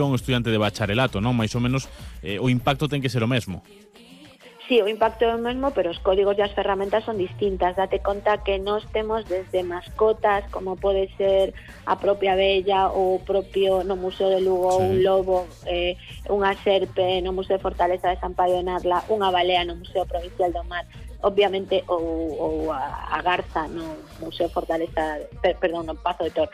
un estudiante de bacharelato, non? Mais ou menos o impacto ten que ser o mesmo. Sí, o impacto é o mesmo, pero os códigos e as ferramentas son distintas. Date conta que nós temos desde mascotas, como pode ser a propia abella ou o propio no Museo de Lugo, Sí. un lobo, unha serpe no Museo de Fortaleza de San Paio de Narla, unha balea no Museo Provincial do Mar, obviamente ou a garza no Museo Fortaleza, perdón, no Pazo de Tor.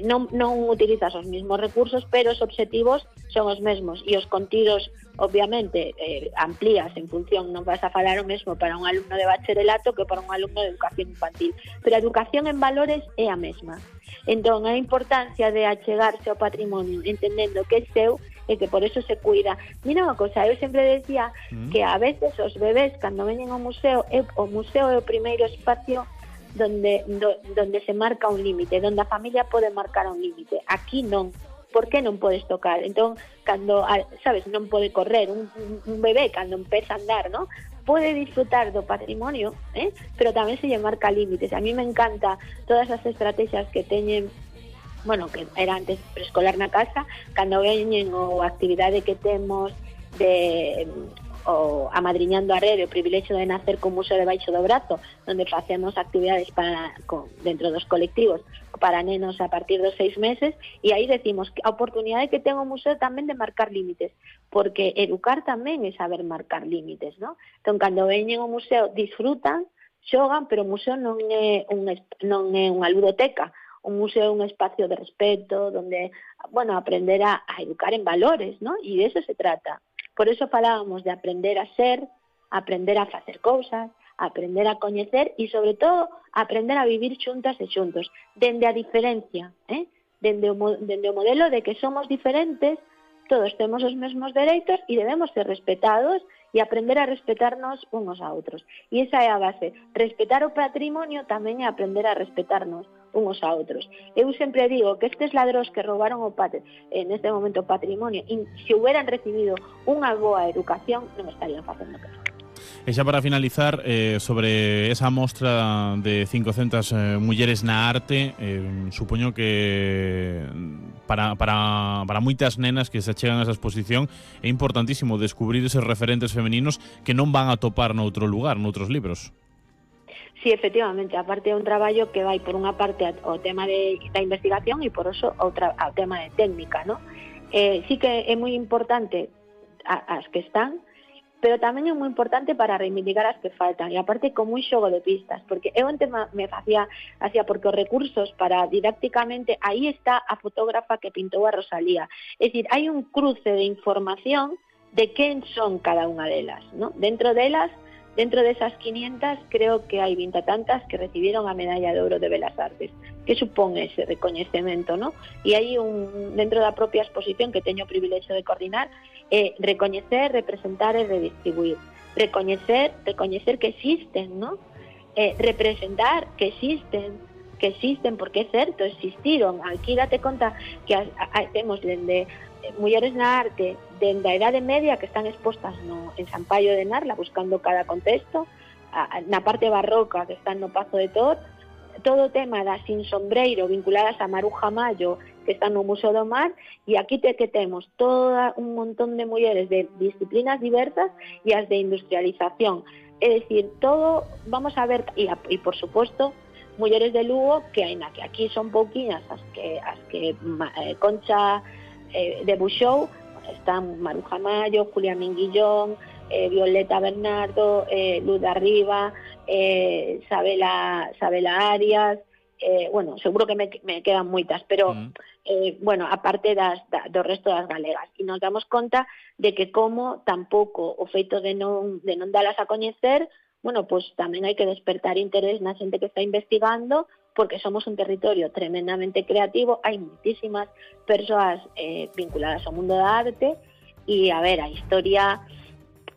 Non utilizas os mesmos recursos, pero os obxectivos son os mesmos e os contidos obviamente amplías en función, non vas a falar o mesmo para un alumno de bacharelato que para un alumno de educación infantil, pero a educación en valores é a mesma. Entón, a importancia de achegarse ao patrimonio entendendo que é seu e que por eso se cuida. Mira unha cosa, eu sempre decía que a veces os bebés cando veñen ao museo, o museo é o primeiro espacio donde se marca un límite, donde a familia pode marcar un límite. Aquí non. Por que non podes tocar? Entón, cando, sabes, non pode correr, un bebé cando empeza a andar, ¿no? Pode disfrutar do patrimonio, pero tamén se lle marca límites. A mí me encanta todas as estrategias que teñen, bueno, que era antes preescolar na casa, cando veñen ou a actividade que temos de o Amadriñando a Rede, o privilexio de nacer con Museo debaixo do brazo, onde facemos actividades dentro dos colectivos para nenos a partir dos 6 meses, e aí decimos que a oportunidade que ten o museo tamén de marcar límites, porque educar tamén é saber marcar límites, ¿no? Entón, cando veñen ao museo, disfrutan, xogan, pero o museo non é unha ludoteca. Un museo é un espacio de respeto, donde, bueno, aprender a educar en valores, ¿no? E de eso se trata. Por eso falábamos de aprender a ser, aprender a facer cousas, aprender a coñecer e, sobre todo, aprender a vivir xuntas e xuntos, dende a diferencia, dende o modelo de que somos diferentes, todos temos os mesmos dereitos e debemos ser respetados e aprender a respetarnos unos a outros. E esa é a base. Respetar o patrimonio tamén é aprender a respetarnos unos a outros. Eu sempre digo que estes ladróns que roubaron neste momento o patrimonio, se hubieran recibido unha boa educación, non estarían facendo que. E xa para finalizar, sobre esa mostra de 500 mulleres na arte, supoño que para moitas nenas que se achegan a esa exposición é importantísimo descubrir eses referentes femeninos que non van a topar noutro lugar, noutros libros. Sí, efectivamente, aparte é un traballo que vai por unha parte ao tema da investigación e por eso ao tema de técnica, ¿no? Sí que é moi importante as que están, pero tamén é moi importante para reivindicar as que faltan, e aparte como un xogo de pistas, porque eu antes me facía porque os recursos para didácticamente, aí está a fotógrafa que pintou a Rosalía, é dicir, hai un cruce de información de quen son cada unha delas, ¿no? Dentro desas 500, creo que hai 20 tantas que recibieron a Medalla de Ouro de Belas Artes. Que supón ese recoñecemento, ¿no? E hai dentro da propia exposición que teño o privilexio de coordinar, recoñecer, representar e redistribuir. Recoñecer que existen, ¿no? Representar que existen, porque é certo, existiron. Aquí date conta que temos dende mulleres na arte dende a Idade Media que están expostas en San Paio de Narla buscando cada contexto, na parte barroca que están no Pazo de Tor, todo o tema das sin sombreiro vinculadas a Maruja Mayo que están no Museo do Mar, e aquí que temos todo un montón de mulleres de disciplinas diversas e as de industrialización, é dicir, todo, vamos a ver, e por suposto mulleres de Lugo que aínda que aquí son pouquiñas as que Concha debuxou, están Maruja Mayo, Julia Minguillón, Violeta Bernardo, Luz de Arriba, Sabela Arias, bueno, seguro que me quedan moitas, pero bueno, aparte do resto das galegas, e nos damos conta de que como tampouco o feito de non dalas a coñecer, bueno, pues tamén hai que despertar interés na xente que está investigando, porque somos un territorio tremendamente creativo, hai moitísimas persoas vinculadas ao mundo da arte, e a ver, a historia,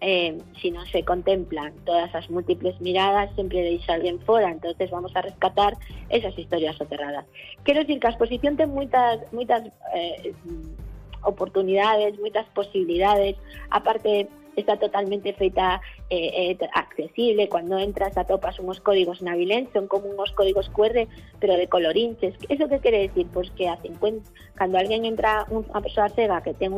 si non se contemplan todas as múltiples miradas, sempre deixa alguén fora, entonces vamos a rescatar esas historias soterradas. Quero dicir que a exposición ten moitas oportunidades, moitas posibilidades, aparte está totalmente feita accesible, cuando entras atopas unhos códigos navilenses, son como unhos códigos QR, pero de colorinches. Eso que quere decir? Pois que a 50, cando alguén entra, unha persoa cega que ten